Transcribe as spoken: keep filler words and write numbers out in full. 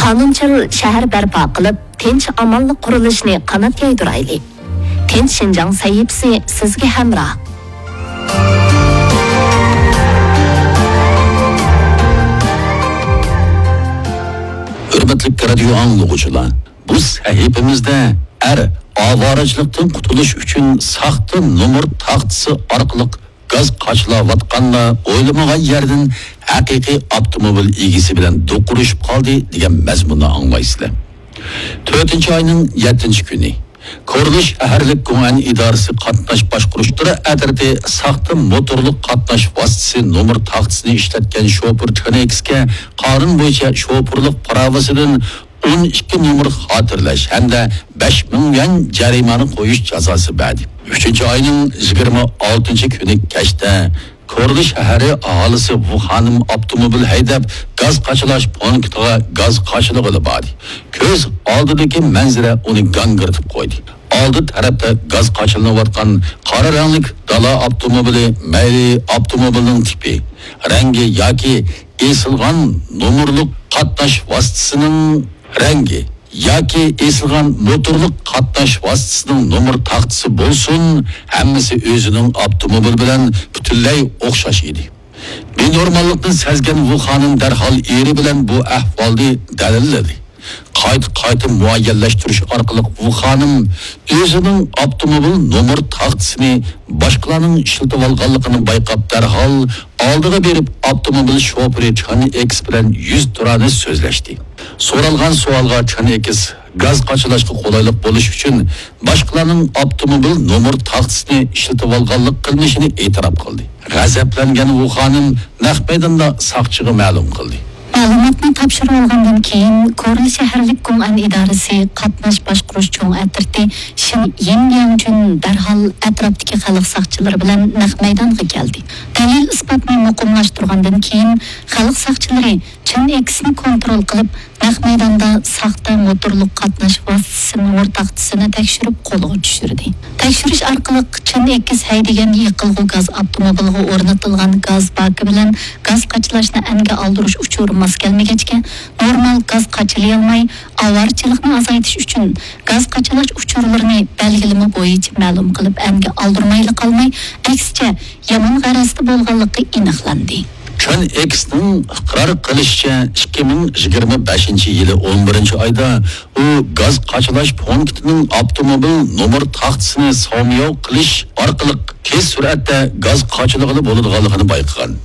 قانۇنچىل شەھەر بەرپا قىلىپ، تىنچ-ئامانلىق قۇرۇلۇشىنى قانات يايدۇرايلى. تىنچ شىنجاڭ سەھىپىسى سىزگە ھەمراھ. ھۆرمەتلىك رادىيو ئاڭلىغۇچىلار، بۇ سەھىپىمىزدە ئەر ئاۋارىچىلىكتىن قۇتۇلۇش ئۈچۈن ساختا نومۇر تاختىسى ئارقىلىق گاز قاچىلاۋاتقاندا ئويلىمىغان يەردىن ھەقىقىي ئاپتوموبىل ئىگىسى بىلەن دوقۇرۇشۇپ قالدى دېگەن مەزمۇننى ئاڭلايسىلەر. تۆتىنچى ئاينىڭ يەتتىنچى كۈنى كورلا شەھەرلىك گۇڭئەن ئىدارىسى قاتناش باشقۇرۇش تۈرى ئەترىتى ساختا موتورلۇق قاتناش ۋاسىتىسى نومۇر تاختىسىنى ئىشلەتكەن شوپۇر چېن ئېكسكە قانۇن بويىچە شوپۇرلۇق پىراۋىسىدىن ئون ئىككى نومۇر خاتىرىلەش ھەمدە بەش مىڭ يۈەن جەرىمانە قويۇش جازاسى بەردى. ئۈچىنچى ئاينىڭ يىگىرمە ئالتىنچى كۈنى كەچتە كورلا شەھىرى ئاھالىسى ۋۇ خانىم ئاپتوموبىل ھەيدەپ، گاز قاچىلاش پونكىتىغا گاز قاچىلىغىلى باردى. كۆز ئالدىدىكى مەنزىرە ئۇنى گاڭگىرىتىپ قويدى. ئالدى تەرەپتە گاز قاچىلىنىۋاتقان قارا رەڭلىك دالا ئاپتوموبىلى، مەيلى ئاپتوموبىلنىڭ تىپى، رەڭگى ياكى ئېسىلغان نومۇرلۇق قاتناش ۋاسىتىسىنىڭ رەڭگى ياكى ئېسىلغان موتورلۇق قاتناش ۋاسىتىسىنىڭ نومۇر تاختىسى بولسۇن، ھەممىسى ئۆزىنىڭ ئاپتوموبىلى بىلەن پۈتۈنلەي ئوخشاش ئىدى. بىنورماللىقنى سەزگەن ۋۇ خانىم دەرھال ئېرى بىلەن بۇ ئەھۋالنى دەلىللىدى. قايتا-قايتا مۇئەييەنلەشتۈرۈش ئارقىلىق ۋۇ خانىم ئۆزىنىڭ ئاپتوموبىل نومۇر تاختىسىنى باشقىلارنىڭ ئىشلىتىۋالغانلىقىنى بايقاپ، دەرھال ئالدىغا بېرىپ، ئاپتوموبىل شوپۇرى چېن ئېكس بىلەن يۈزتۇرانە سۆزلەشتى. سورالغان سوئالغا چېن ئېكس گاز قاچىلاشقا قولايلىق بولۇش ئۈچۈن باشقىلارنىڭ ئاپتوموبىل نومۇر تاختىسىنى ئىشلىتىۋالغانلىق قىلمىشىنى ئېتىراپ قىلدى. غەزەپلەنگەن ۋۇ خانىم نەق مەيداندا ساقچىغا مەلۇم قىلدى. مەلۇماتنى تاپشۇرۇۋالغاندىن كېيىن، كورلا شەھەرلىك گۇڭئەن ئىدارىسى قاتناش باشقۇرۇش چوڭ ئەترىتى شىن يىنلياڭجۈن دەرھال ئەتراپتىكى خەلق ساقچىلىرى بىلەن نەق مەيدانغا كەلدى. دەلىل-ئىسپاتنى مۇقىملاشتۇرغاندىن كېيىن، خەلق ساقچىلىرى چېن ئېكسنى كونترول قىلىپ، نەق مەيداندا ساختا موتورلۇق قاتناش ۋاسىتىسى نومۇر تاختىسىنى تەكشۈرۈپ قولغا چۈشۈردى. تەكشۈرۈش ئارقىلىق چېن ئېكس ھەيدىگەن يېقىلغۇ گاز ئاپتوموبىلغا ئورنىتىلغان گاز باكى بىلەن گاز قاچىلاشنى ئەنگە ئالدۇرۇش ئۇچۇرى ماس كەلمىگەچكە، نورمال گاز قاچىلىيالماي، ئاۋارىچىلىقنى ئازايتىش ئۈچۈن گاز قاچىلاش ئۇچۇرلىرىنى بەلگىلىمە بويىچە مەلۇم قىلىپ ئەنگە ئالدۇرمايلا قالماي، ئەكسىچە يامان غەرەزدە بولغانلىقى ئېنىقلاندى. چېن ئېكسنىڭ ئىقرار قىلىشىچە، ئىككى مىڭ يىگىرمە بەشىنچى يىلى ئون بىرىنچى ئايدا ئۇ گاز قاچىلاش پونكىتىنىڭ ئاپتوموبىل نومۇر تاختىسىنى ساۋمىياۋ قىلىش ئارقىلىق تېز سۈرئەتتە گاز قاچىلىغىلى بولىدىغانلىقىنى بايقىغان.